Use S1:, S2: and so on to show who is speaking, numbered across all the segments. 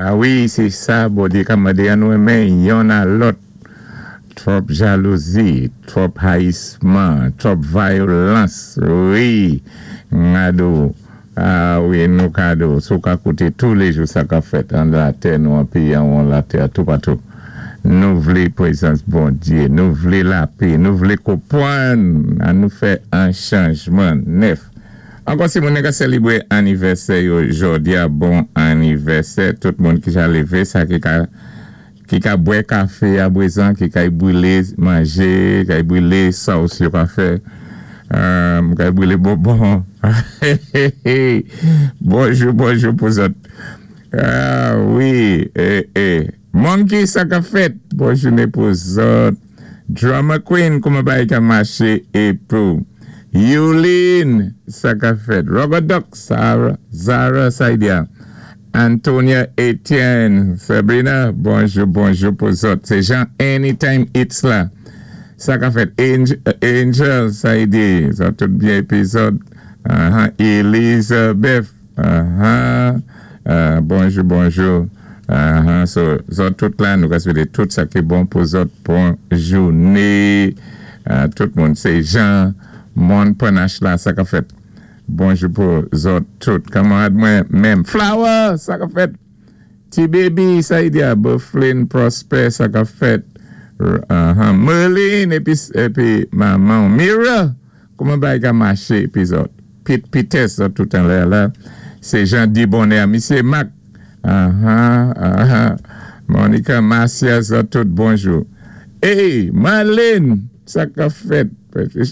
S1: A wi, sé sa Bondyé ka mandé an nou renmen yonn a lòt. Twòp jalouzi, twòp hayisman, twòp vayolans, wi, gado, a wi, nou kado, si w ka kouté toulé jou sa k ap fèt an latè nou, an péyi anwon latè, toupatou. Nou vlé pwézans Bondyé, nou vlé lapé, nou vlé konpwann, an nou fè an chanjman nèf. Ankò si moun ka sèlébré anivèsè yo jòdi-a, bon anivèsè tout moun ki ja lévé, sa ki ka bwè kafé a bwézan, ki kay bwilé manjé, kay bwilé sòs yo ka fè, kay bwilé bonbon. Bonjou, bonjou pou zòt. Ah wi, eh eh. Monkey, sa ka fèt? Bon jouné pou zòt. Drama Queen, kouman bagay ka maché épou. Yulin, sa ka fèt? Robert Duck, Sarah, Zara Saidia. Antonia Etienne, Sabrina, bonjou, bonjou pou zòt. Sé Jean Anytime It's la. Sa ka fèt? Angel, Angel Saidi, sa tout byen épizòd. Elizabeth, Bonjou, bonjou. So, zòt tout la, nou ka swété tout sa ki bon pou zòt. Bon jouné. Tout moun, sé Jean Mon Panache la, sa ka fèt? Bonjou pou zòt tout. Kanmarad mwen menm. Flower, sa ka fèt? Ti Baby, Saidia, Bufflin, Prosper, sa ka fèt? Merlin, épi manman. Mira, kouman bagay ka maché épi zòt? Pete Pites, zòt tout anlè la. Sé Jean Di Bonheur. Misyé Mac. Monica Marcia, zòt tout, bonjou. Hey, Marlene, sa ka fèt?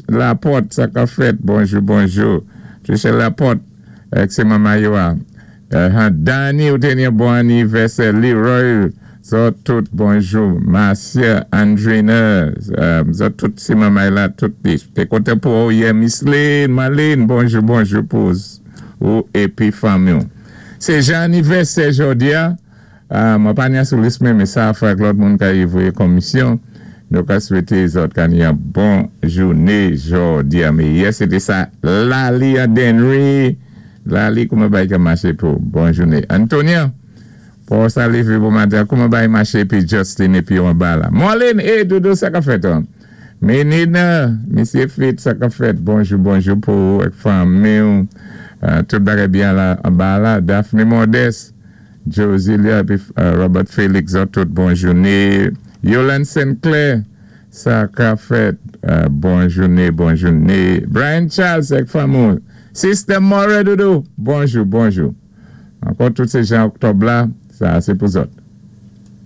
S1: Laporte, sa ka fèt? Bonjou, bonjou. Tricia Laporte, sé manman yo a. Danny, ou té ni bon anivèsè. Leroy, zòt tout, bonjou. Marcia, Andrina, zòt tout, sé manman la, tout. Té kontan pou ou yè, Miss Lynn, Marlene, bonjou, bonjou pou ou épi fanmi. Sé jan anivèsè jòdi-a. Mwen pa ni sou lis mwen, men sa fè ak lòt moun ka y voyé komisyon. Nou ka swété zòt ka ni yon bon jouné jòdi-a. Men yè, sé té sa Lali an Denry. Lali, kouman bagay ka maché pou bon jouné? Antonia, pou sa lévé bon maten, kouman bagay maché épi Justin épi an ba la? Marlene, eh Dodo, sa ka fèt an? Menina, Misyé Fit, sa ka fèt? Bonjou, bonjou pou ou ak fanmi. Tout bagay byen la an ba la. Daphne Modeste, Josilia épi Robert Félix, zòt tout bon jouné. Yolande Sinclair, sa ka fèt? Bon jouné, bon jouné. Brian Charles ak fanmi. Sister More Dodo, bonjou, bonjou. Ankò tout sé jan oktòb la, sa sé pou zòt.